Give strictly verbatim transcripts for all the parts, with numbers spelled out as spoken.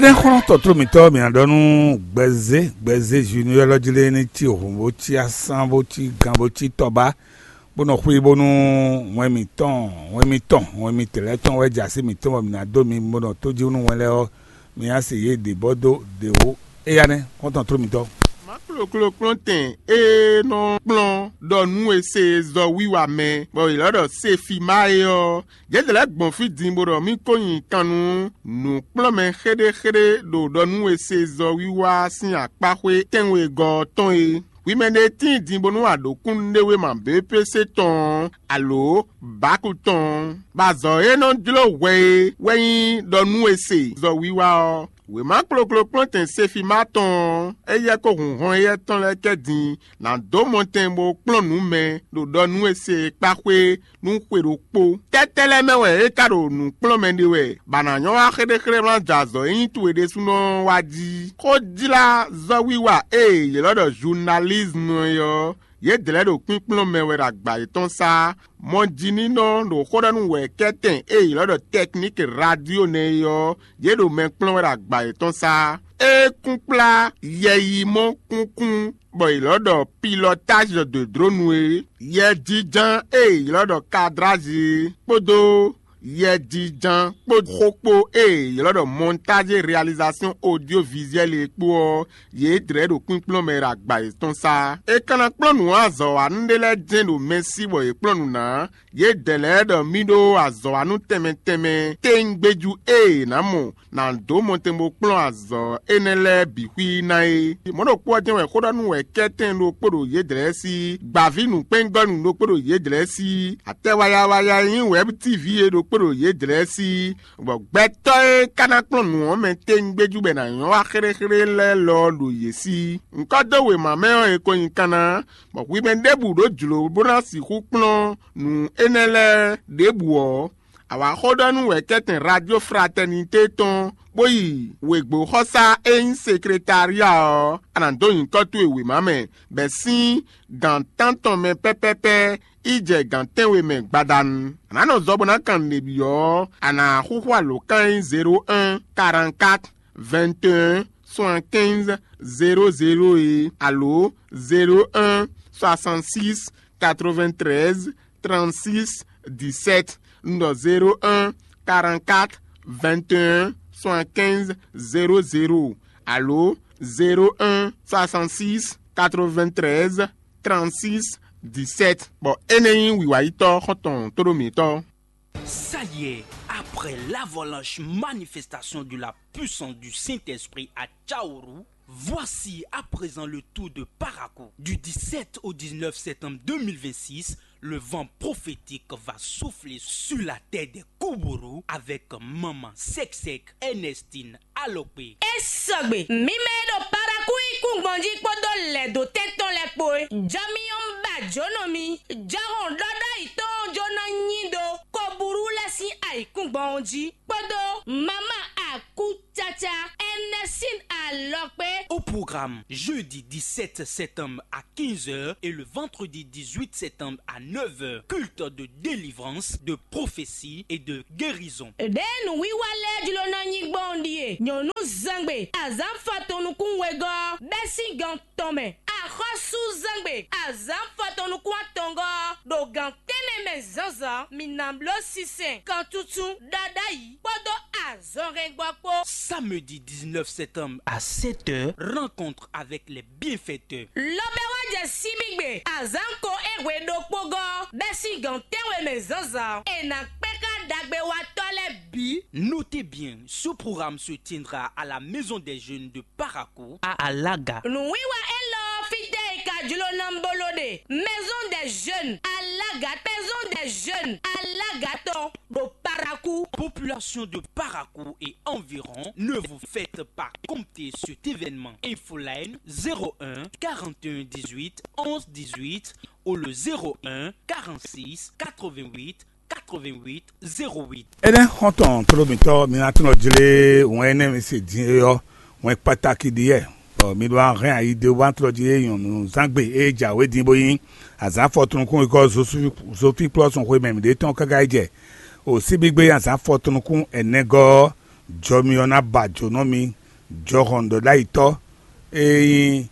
Énɛ́ xlɔ́n tɔ́tlú mǐtɔn, mǐ ná ɖɔ nú gbɛzé gbɛzé Junior élɔ́ jí lé ní cí hǔn bó cí asán bó cí gan bó cí tɔba, bó nɔ xwí bónú wɛn mǐtɔn wɛn mǐtɔn wɛn mǐtɛn lɛ́ɛ tɔn wɛ jɛ así mǐtɔn bɔ mǐ ná dó mi bó nɔ tójí nú wɛn lɛ́ɛ ɔ́, mi ná se yě ɖě bɔ dó ɖě ó. Éyá nɛ́ xɔ́ntɔn tló mitɔ́. Má kplokplɔ́ntɛn e nɔ kplɔ́n ɖɔ nú e se zɔ wiwa mɛ, bɔ è lɔ́ ɖɔ Sefima é ɔ́, yědɛɛ lɛ́ɛ gbɔn fí din bó ɖɔ mì ko nyi kan nú nǔkplɔ́nmɛ xéɖéxéɖé ɖo ɖɔ nú e se zɔ wiwa sín akpáxwé tɛ́nwegɔ́ ɔ́ tɔn é. Hwi mɛ ɖé tíin din bónú a ɖǒ kúnnuɖewéma B P C tɔn ɔ́, alǒ Baku tɔn ɔ́, bɔ azɔ̌ e nɔ jló hwɛ é wɛ nyí ɖɔ nú e se zɔ wiwa ɔ́. Wěma kplokplokplɔ́ntɛn Sefima tɔn ɔ́, éyɛ́ kó hun hɔn éyɛ́ tɔn lɛ́ɛ kɛ din, nǎ dó mɔtɛn bó kplɔ́n nǔ mɛ ɖo ɖɔ nú e se e kpá xwé nú xwe ɖokpó. Tɛ́tɛ́ lɛ́ɛ mɛ wɛ é ka ɖo nǔ kplɔ́n mɛ ɖe wɛ, bɔ a nǎ nyɔ́ wá xéɖéxéɖé wlán jɛ azɔ̌ e nyí towe ɖésúnɔ ɔ́ wá jí. Xójlázɔ́wiwa e è ylɔ́ ɖɔ zunalízmu é ɔ́, yědɛɛ lɛ́ɛ ɖo kpínkplɔ́n mɛ wɛ ɖo agba yětɔn sá. Mɔjínínɔ ɖo xó ɖɔ nú wɛ̌kɛ́tɛn e è ylɔ́ ɖɔ tɛkníki radio nɛ́ é ɔ́, yě ɖo mɛ kplɔ́n wɛ ɖo agba yětɔn sá. É kún kplá yɛyimɔ kúnkún bɔ è ylɔ́ ɖɔ pilɔtázi de dlǒnu é, yɛjínján e è ylɔ́ ɖɔ kadrázi é, kpódó yɛjínján kpó xó kpó e è ylɔ́ ɖɔ mɔntázi realizasyɔn odyovizyɛli é kpó ɔ́, yě dlɛ̌ ɖo kpínkplɔ́n mɛ ɖo agba yětɔn sá. È ka ná kplɔ́n nǔ azɔ̌wanú ɖé lɛ́ɛ jɛ́n ɖo mɛ sí bɔ yě kplɔ́n nǔ ná. Yědɛɛ lɛ́ɛ ɖɔ mì ɖó azɔ̌wanú tɛnmɛ tɛnmɛ tɛ́ngbéjú e è nǎ mɔ nǎ dó mɔtɛn bó kplɔ́n azɔ̌ énɛ́ lɛ́ɛ bǐ xwí ná é. Mɔ̌ ɖokpó ɔ́ jɛ́n wɛ xó ɖɔ nú wɛ̌kɛ́tɛn ɖokpó ɖo yědɛɛ sí, gbǎví nǔkpɛ́ngɔ́nú ɖokpó ɖo yědɛɛ sí, atɛ wayawaya e nyí wɛ̌btíví é ɖokpó ɖo yědɛɛ sí, bɔ gbɛtɔ́ e ka ná kplɔ́n nǔ ɔ́ mɛ tɛ́ngbéjú bɔ è nǎ nyɔ́ wá xéɖéxéɖé lɛ́ɛ lɔ ɔ́ ɖo yě sí. Ŋkɔ́ dó wěma mɛ ɔ́, è ko nyi kanna, bɔ hwi mɛ ɖěbǔ ɖó jlǒ bó ná sixú kplɔ́n nǔ énɛ́ lɛ́ɛ ɖěbǔ ɔ́, a wǎ xó ɖɔ nú wɛ̌kɛ́tɛn Radio Fraternité tɔn, bó yi wěgbóxɔsá e nyí sekretária ɔ́, a nǎ dó nyǐkɔ towe wěma mɛ, bɔ è sín gǎn tántɔn mɛ pɛ́pɛ́pɛ́ yi jɛ gǎn tɛ́nwe mɛ gbadanu. A nǎ nɔ zɔ bó ná kan nǔɖé byɔ́ ɔ́, a nǎ xúxú alǒkan e nyí zéro un, quarante-quatre, vingt et un, soixante-quinze, zéro zéro é, alo zéro un, soixante-six, quatre-vingt-treize, trente-six, dix-sept. Un ɖɔ zéro un, quarante-quatre, vingt et un, soixante-quinze, zéro zéro, alo zéro un, soixante-six, quatre-vingt-treize, trente-six, dix-sept. Bɔ énɛ́ nyí wǐwayítɔ́ xɔ́ntɔn tóɖó mǐtɔn. Ça y est, après l'avalanche manifestation de la puissance du Saint-Esprit à Tchaourou, voici à présent le tour de Parakou. Du dix-sept au dix-neuf septembre deux mille vingt-six, le vent prophétique va souffler sur la terre des Koubourou avec Maman Sek Sek, Ernestine Alokpé. É sɔgbe, mǐ mɛ e ɖo Parakou yí kún gbɔn jí kpódó lɛ̌dǒtɛ́ tɔn lɛ́ɛ kpó é. Jɔmyɔ́ ba jǒnɔ mì, jɔhɔn ɖɔɖɔ́ yǐtɔn ɔ́ jó ná nyi ɖó Koburu lɛ́ɛ sín ayǐkúngban ɔ́ jí, kpódó Mama Akúcaca Ernestine Alɔkpé. Au programme, jeudi dix-sept septembre à quinze heures et le vendredi dix-huit septembre à neuf heures, culte de délivrance, de prophétie et de guérison. Ɖěe nǔwiwa lɛ́ɛ jló ná nyí gbɔn ɔ́ ɖíe: nyɔ̌nu zangbe, azǎn fɔtɔn nukún wegɔ́, bɛ́ sín gɔn tɔn mɛ, axɔ́sú zangbe, azǎn fɔtɔn nukún atɔngɔ́, ɖo gǎn tɛ́nnɛ mɛ zǎnzǎn, mǐ ná bló sinsɛn, kantuntun, ɖaɖáyi kpódó azɔnhɛngbɔ kpó. Samedi dix-neuf septembre à sept heures, rencontre avec les bienfaiteurs. Lɔbɛ́ wá jɛ síbígbe azǎn ko é hwe ɖokpó gɔ́, bɛ́ sín gǎn tɛ́nwe mɛ zǎnzǎn, è nǎ kpɛ́ xá ɖagbewatɔ́ lɛ́ɛ bǐ. Notez bien, ce programme se tiendra à la maison des jeunes de Parakou à Alaga. Nǔwiwa élɔ́ ɔ́, fítɛ́ è ka jló ná bó ló ɖe? Maison des jeunes Alaga, maison des jeunes Alaga tɔn ɖo Parakou. Population de Parakou et environ, ne vous faites pas compter cet événement. Infoline zéro un, quarante et un, dix-huit, onze, dix-huit ou le zéro un, quarante-six, quatre-vingt-huit, quatre-vingt-huit, zéro huit. Énɛ́ xɔ́ntɔn tlóló mǐtɔn, mi ná tunɔ jlé wɛn énɛ́ mi se din é ɔ́, wɛn kpataki ɖíe. Bɔ mi ɖó ahɛn ayi ɖé wá tlɔ́ jí é nyɔ̌nu zangbe é jǎwe din bó nyí azǎn fɔtunukún e gɔ́ Zofi kplɔ́ sun xwe mɛ mǐɖée tɔn káká yi jɛ o síbígbe azǎn fɔtunukún ɛnɛgɔ́ ɔ́, Jɔ mi ɔ́ ná ba jǒnɔ mi, jɔhɔn ɖɔɖ'ayǐtɔ́ e nyí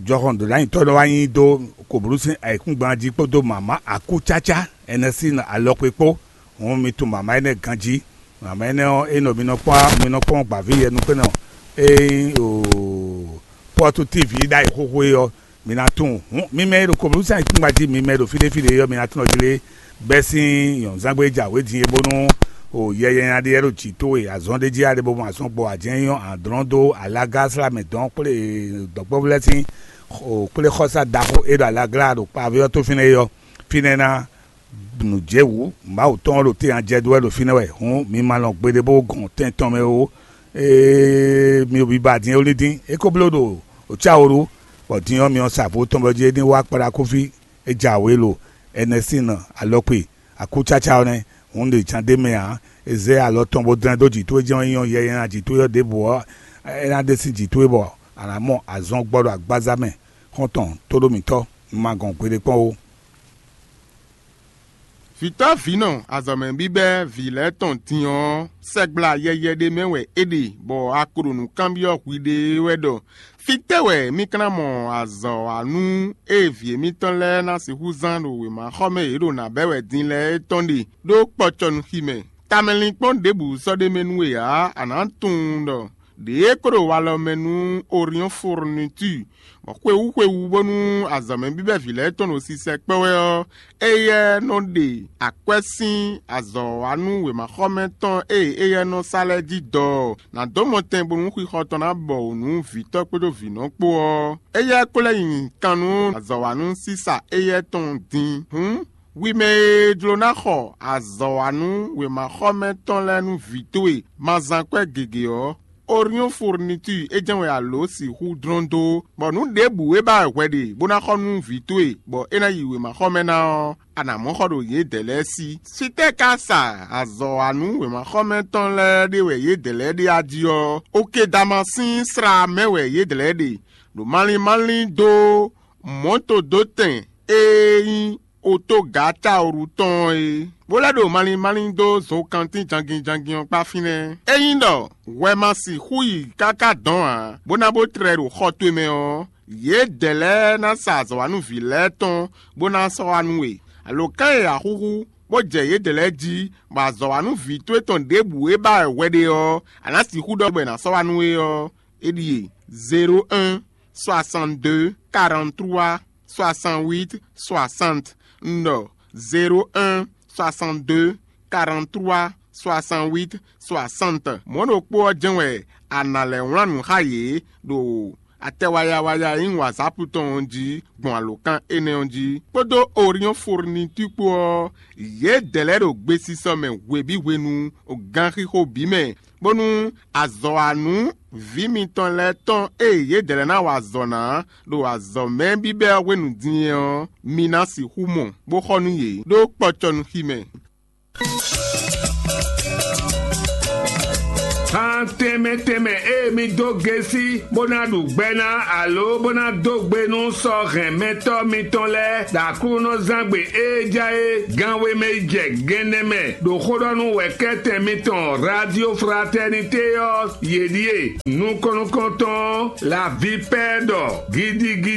jɔhɔn ɖɔɖ'ayǐtɔ́ nɔ wá nyi dó koblú sín ayǐkúngban jí kpódó mǎmá akúcácá ɛnɛ sín alɔkpe kpó. Hǔn mi tunwun mǎmá énɛ́ ganjí. Mǎmá énɛ́ ɔ́, é nɔ mi nɔ kpɔ́n mi nɔ kpɔ́n gbǎví yɛnukpɛ́nɔ e nyí o pɔ́tu tívi ɖ'ayǐ xóxó é ɔ́, mi ná tunwun. Hǔn mi mɛ e ɖo koblú sín ayǐkúngban jí, mi mɛ e ɖo fí ɖé fí ɖé é ɔ́, mi ná tunwun ɔ́ jí lé bɛ́ sín nyɔ̌nzángbe e jɛ awě din é, bónú o yɛ nyanya ɖé lɛ́ɛ ɖo jǐ towe azɔn ɖé jí a ɖe bo mɔ azɔn gbɔ a jɛ́n nyɔ́ adlɔ́n dó alaga sla mɛ dɔn kplé dɔ̌nkpɛ́vú lɛ́ɛ sín o kplé xɔ́sá ɖaxó e ɖo alaglá ɖo kpaví ɔ́ tó fínɛ́ é ɔ́, fínɛ́ ná nǔ jɛ wǔ Mawu tɔn ɔ́ ɖo té nya jɛ dó wɛ ɖo fínɛ́ wɛ. Hǔn mi ma lɔn gbeɖé bó gɔn tɛn tɔn mɛ ó. Ee, mi ɖo biba din é wlí dín, é ko bló ɖo ocáwo ɖu, bɔ din ɔ́ mi ɔ́ sa vo tɔn bɔ jí é ní wá kpaɖa kúfí é jɛ awě lo ɛnɛ sín nɔ alɔkpe akúcácá ɔ́ nɛ́. Hǔn ɖě cán ɖ'é mɛ ǎ; è zɛ alɔ tɔn bó dlɛ́n dó jǐ towe jɛ́n wɛ nyí ɔ́, yɛ nyanya jǐ towe ɔ́ ɖěbǔ ɔ́, é ná ɖe sín jǐ towe bɔ a nǎ mɔ azɔn gbɔ ɖo agbaza mɛ xɔ́ntɔn tóɖó mǐtɔn, un ma gɔn gbeɖé kpɔ́n ó. Vǐtɔ́ vǐnɔ azɔ̌mɛ bíbɛ́ vǐ lɛ́ɛ tɔn din ɔ́, sɛgbla yɛyɛ ɖé mɛ wɛ é ɖe, bɔ a ko ɖo nǔ kanbyɔ́ hwiɖée wɛ ɖɔ: Fítɛ́ wɛ mì ka ná mɔ azɔ̌ wa nú ée vǐ émítɔn lɛ́ɛ ná sixú zán ɖo wěmaxɔmɛ e yě ɖo nǎ bɛ́ wɛ din lɛ́ɛ é tɔn ɖe ɖó kpɔcɔnuxi mɛ? Tamɛlinkpɔ́n ɖěbǔ sɔ́ ɖ'é mɛ nú we ǎ; a nǎ tunwun ɖɔ ɖě e ko ɖo walɔ mɛ nú Oriɔ́n Furnitúr, bɔ xwewú xwewú bónú azɔ̌mɛ bíbɛ́ vǐ lɛ́ɛ tɔn ɖo sisɛ kpɛ́ wɛ ɔ́, éyɛ́ nɔ ɖe akwɛ́ sín azɔ̌ wa nú wěmaxɔmɛ tɔn e éyɛ́ nɔ sa lɛ́ɛ jí dɔ ɔ́, nǎ dó mɔtɛn bónú xixɔ tɔn ná bɔ wǔ nú vǐtɔ́ kpódó vǐnɔ kpó ɔ́. Éyɛ́ ko lɛ́ nyi kan nú azɔ̌ wa nú sísa éyɛ́ tɔn din. Hǔn, hwi mɛ e jló ná xɔ azɔ̌ wa nú wěmaxɔmɛ tɔn lɛ́ɛ nú vǐ towe, ma zán kwɛ́ gěgé ɔ́, Oriɔ́n Furnitúr é jɛ́n wɛ a lǒ sixú dlɔ́n dó, bɔ nǔ ɖěbǔ e ba wɛ hwɛ ɖe bó ná xɔ nú vǐ towe, bɔ é ná yi wěmaxɔmɛ ná ɔ́, a nǎ mɔ xɔ ɖo yědɛɛ lɛ́ɛ sí. Fítɛ́ ka sa azɔ̌ wa nú wěmaxɔmɛ tɔn lɛ́ɛ ɖe wɛ yědɛɛ lɛ́ɛ ɖe a jí ɔ́, Okedama sín sla mɛ wɛ yědɛɛ lɛ́ɛ ɖe, ɖo malín malín dó mɔ̌todótɛn e nyí otógǎ caoɖu tɔn ɔ́ é, bó lɛ́ ɖo malín malín dó zokantín jangin jangin ɔ́ kpá fínɛ́. Ényí ɖɔ hwɛ ma sixú yi káká dɔ̌n ǎ, bó ná bó tlɛ ɖo xɔ towe mɛ ɔ́, yědɛɛ lɛ́ɛ ná sa azɔ̌wanúví lɛ́ɛ tɔn bó ná sɔ́ wá nú we. Alǒkan e a xúxú, bó jɛ yědɛɛ lɛ́ɛ jí, bɔ azɔ̌wanúví towe tɔn ɖěbǔ e ba wɛ hwɛ ɖe ɔ́, a nǎ sixú ɖɔ bɔ è nǎ sɔ́ wá nú we ɔ́, é ɖíe: zéro un, soixante-deux, quarante-trois, soixante-huit, soixante. Un ɖɔ: zéro un, soixante-deux, quarante-trois, soixante-huit, soixante. Mɔ̌ ɖokpó ɔ́ jɛ́n wɛ a nǎ lɛ́ wlán nǔ xá yě ɖo atɛ waya waya e nyí WhatsApp tɔn ɔ́ jí gbɔn alǒkan énɛ́ ɔ́ jí, kpódó Oriɔ́n Furnitúr kpó ɔ́, yědɛɛ lɛ́ɛ ɖo gbesisɔ mɛ hwebǐ hwenu, ganxixo bǐ mɛ, bónú azɔ̌wanú vǐ mitɔn lɛ́ɛ tɔn e yědɛɛ lɛ́ɛ ná wa azɔ̌ ná ɖo azɔ̌mɛ bíbɛ́ ɔ́ hwenu din é ɔ́, mi ná sixú mɔ, bó xɔ nú yě ɖó kpɔcɔnuxi mɛ. Xan tɛnmɛ tɛnmɛ e mi dó gesi bó ná ɖu gbɛ ná alo bó ná dó gbe nú sɔ́ hɛn mɛtɔ́ mitɔn lɛ́ɛ ɖo Aklúnɔzángbe e ja é gánwe mɛ yi jɛ gɛnnɛ mɛ ɖo xóɖɔ́nú wɛ̌kɛ́tɛn mitɔn Radio Fraternité ɔ́, yě ɖíe: nukɔn nukɔntɔn ɔ́, la vipɛ́ ɖɔ gidigidi